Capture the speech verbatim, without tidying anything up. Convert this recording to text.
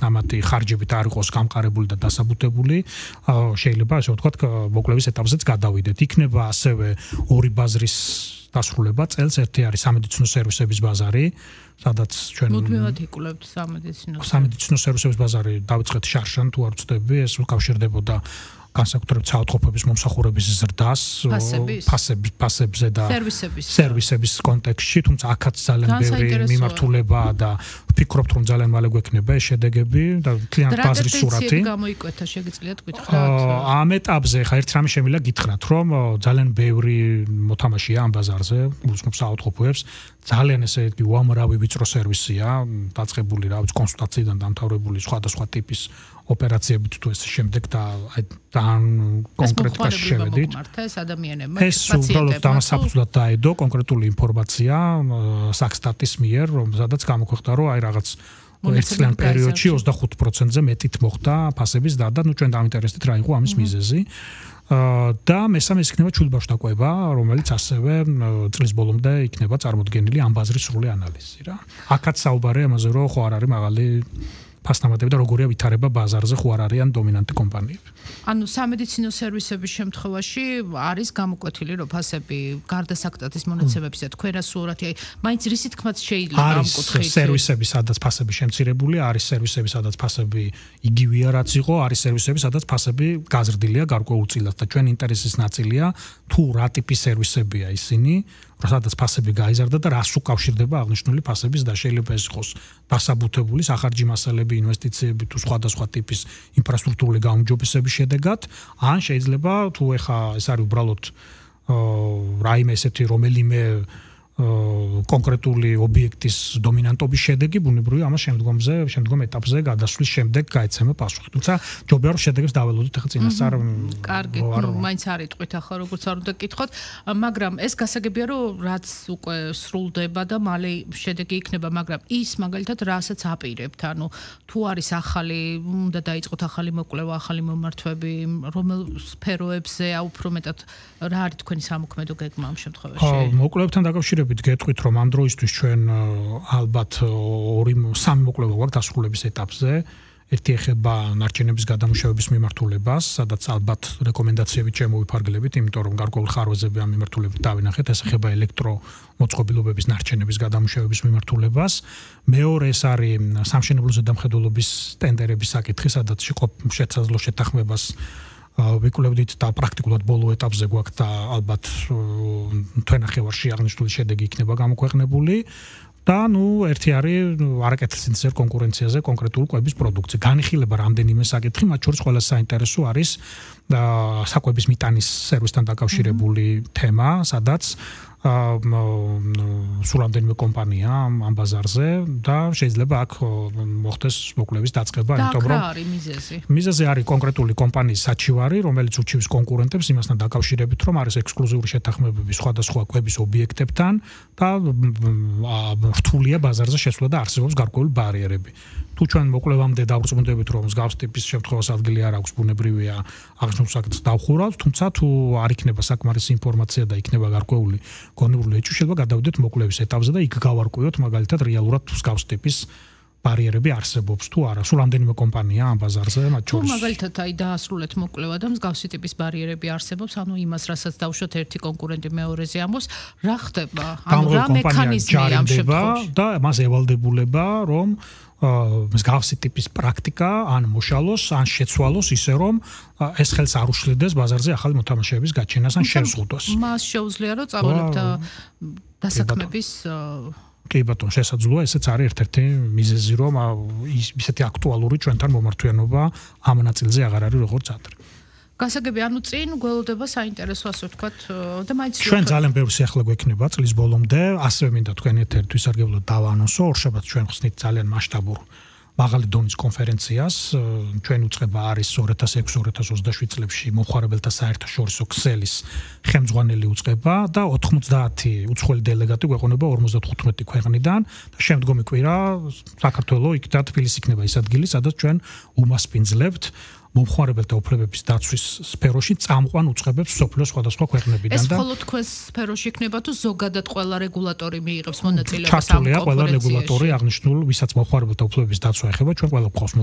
ნამატი ხარჯებით არ იყოს გამყარებული და დასაბუთებული, შეიძლება ასე ვთქვათ, მოკვლევის ეტაპზეც გადავიდეთ. იქნება ასევე ორი ბაზრის დასრულება წელს, ერთი არის სამედიცინო სერვისების ბაზარი, სადაც ჩვენ მუდმივად იკვლევთ სამედიცინო სამედიცინო სერვისების ბაზარი დავიწყეთ შარშან თუ არ ვწდები, ეს უკავშირდებოდა განსაკუთრებით საავადმყოფოების მომსახურების ზრდას, ფასების, ფასებზე და სერვისების სერვისების კონტექსტში, თუმცა აქაც ძალიან ბევრი მიმართულებაა და ვფიქრობთ, რომ ძალიან მალე გვექნება ეს შედეგები და მთლიანი ბაზრის სურათი. გამოიკვეთა, შეგიძლიათ გითხრათ? ამ ეტაპზე ხა ერთ რამე შემიძლია გითხრათ, რომ ძალიან ბევრი მოთამაშეა ამ ბაზარზე, უსმენს საავადმყოფოებს, ძალიან ესე იგი უამრავი ვიწრო სერვისია, დაწყებული რა ვიცი კონსულტაციიდან დამთავრებული სხვადასხვა ტიპის ოპერაციებით თუ ეს შემდეგ და ძალიან კონკრეტ კაშში შევედით. ეს უბრალოდ დამასაფუძვლად დაედო კონკრეტული ინფორმაცია საქსტატის მიერ, რომ სადაც გამოქვეყნდა, რომ აი რაღაც ერთ წლიან პერიოდში ოცდახუთ პროცენტზე მეტით მოხდა ფასების დარდა, ნუ ჩვენ დავინტერესდით რა იყო ამის მიზეზი. და მესამე იქნება ჩვილბავშვთაკვება, რომელიც ასევე წლის ბოლომდე იქნება წარმოდგენილი ამ ბაზრის სრული ანალიზი რა. აქაც საუბარია ამაზე, რომ ხო არ არის მაღალი ფასნამატები და როგორია ვითარება ბაზარზე, ხო არ არიან დომინანტი კომპანიები. ანუ სამედიცინო სერვისების შემთხვევაში არის გამოკვეთილი, რომ ფასები გარდა საქტატის მონაცემებისა თქვენ სურათი, აი, მაინც რისი თქმაც შეიძლება ამ კუთხით. არის სერვისები, სადაც ფასები შემცირებულია, არის სერვისები, სადაც ფასები იგივეა, რაც იყო, არის სერვისები, სადაც ფასები გაზრდილია გარკვეულწილად და ჩვენ ინტერესის ნაწილია თუ რა ტიპის სერვისებია ისინი, სადაც ფასები გაიზარდა და რას უკავშირდება აღნიშნული ფასების და შეიძლება ეს იყოს დასაბუთებული სახარჯი მასალები, ინვესტიციები თუ სხვადასხვა ტიპის ინფრასტრუქტურული გაუმჯობესების შედეგად, ან შეიძლება თუ ეხა ეს არის უბრალოდ რაიმე ესეთი რომელიმე კონკრეტული ობიექტის დომინანტობის შედეგი, ბუნებრივია ამას შემდგომზე, შემდგომ ეტაპზე გადასვლის შემდეგ გაეცემა პასუხი. თუმცა ჯობია რომ შედეგებს დაველოდოთ ახლა წინასწარ. კარგი, მაინც არ იტყვით ახლა როგორც არ უნდა გკითხოთ, მაგრამ ეს გასაგებია რომ რაც უკვე სრულდება და მალე შედეგი იქნება, მაგრამ ის მაგალითად რასაც აპირებთ, ანუ თუ არის ახალი, უნდა დაიწყოთ ახალი მოკვლევა, ახალი მომართვები, რომელ სფეროებზე, უფრო მეტად რა არის თქვენი სამოქმედო გეგმა ამ შემთხვევაში? მოკვლევებთან დაკავშირებით გეტყვით, რომ ამ დროისთვის ჩვენ ალბათ ორი სამი მოკვლევა გვაქვს დასრულების ეტაპზე. ერთი ეხება ნარჩენების გადამუშავების მიმართულებას, სადაც ალბათ რეკომენდაციები შემოვიფარგლებით, იმიტომ რომ გარკვეულ ხარვეზები ამ მიმართულებით დავინახეთ, ეს ეხება ელექტრომოწყობილობების ნარჩენების გადამუშავების მიმართულებას. მეორე ეს არის სამშენებლო ზედამხედველობის ტენდერების საკითხი, სადაც შესაძლო შეთანხმებას ვიკვლევდით და პრაქტიკულად ბოლო ეტაპზე გვაქვს და ალბათ თვენახევარში აღნიშნული შედეგი იქნება გამოქვეყნებული. და ნუ ერთი არის არაკეთილსინთეზურ კონკურენციაზე კონკრეტული კვების პროდუქცია. განიხილება რამდენიმე საკითხი, მათ შორის ყველა საინტერესო არის საკვების მიტანის სერვისთან დაკავშირებული თემა, სადაც სულ რამდენიმე კომპანია ამ ბაზარზე და შეიძლება აქ მოხდეს მოკვლევის დაწყება, იმიტომ რომ რა არის მიზეზი? მიზეზი არის კონკრეტული კომპანიის საჩივარი, რომელიც უჩივის კონკურენტებს იმასთან დაკავშირებით, რომ არის ექსკლუზიური შეთანხმებები სხვადასხვა კვების ობიექტებთან და რთულია ბაზარზე შესვლა და არსებობს გარკვეული ბარიერები. თუ ჩვენ მოკვლევამდე დავრწმუნდებით, რომ მსგავს ტიპის შემთხვევას ადგილი არ აქვს, ბუნებრივია აღნიშნულ საკითხს დავხურავთ, თუმცა თუ არ იქნება საკმარისი ინფორმაცია და იქნება გარკვეული გონივრული ეჭვი, შეიძლება გადავიდეთ მოკვლევის ეტაპზე და იქ გავარკვიოთ მაგალითად რეალურად მსგავს ტიპის ბარიერები არსებობს თუ არა. სულ რამდენიმე კომპანია ამ ბაზარზე, მათ შორის. თუ მაგალითად აი დაასრულეთ მოკვლევა და მსგავსი ტიპის ბარიერები არსებობს, ანუ იმას, რასაც დავუშვათ ერთი კონკურენტი მეორეზე ამბობს, რა ხდება? ანუ რა მექანიზმია ამ შემთხვევაში? და მას ევალდებულება, რომ მსგავსი ტიპის პრაქტიკა ან მოშალოს, ან შეცვალოს ისე, რომ ეს ხელს არ უშლიდეს ბაზარზე ახალი მოთამაშეების გაჩენას ან შეზღუდვას. მას შეუძლია, რომ წავალებთ დასაქმების კი ბატონო, შესაძლოა, ესეც არის ერთ-ერთი მიზეზი, რომ ისეთი აქტუალური ჩვენთან მომართვიანობა ამ ნაწილზე აღარ არის როგორც ადრე. გასაგები, ანუ წინ გველოდება საინტერესო, ასე ვთქვათ, და მაინც ჩვენ ძალიან ბევრი სიახლე გვექნება წლის ბოლომდე, ასევე მინდა თქვენ ერთ-ერთ ვისარგებლოთ დავაანონსო, ორშაბათს ჩვენ ხსნით ძალიან მასშტაბურ მაღალი დონის კონფერენციას, ჩვენ უწყება არის ორი ათას ექვსი ორი ათას ოცდაშვიდ წლებში მომხმარებელთა საერთაშორისო ქსელის ხელმძღვანელი უწყება და ოთხმოცდაათი უცხოელი დელეგატი გვეყონება ორმოცდათხუთმეტი ქვეყნიდან და შემდგომი კვირა საქართველოს იქ და თბილისი იქნება ის ადგილი, სადაც ჩვენ უმასპინძლებთ მომხმარებელთა უფლებების დაცვის სფეროში წამყვან უწყებებს მსოფლიოს სხვადასხვა ქვეყნებიდან და ეს მხოლოდ თქვენს სფეროში იქნება თუ ზოგადად ყველა რეგულატორი მიიღებს მონაწილეობას ამ ჩართულია ყველა რეგულატორი აღნიშნულ, ვისაც მომხმარებელთა უფლებების დაცვა ეხება, ჩვენ ყველა გვყავს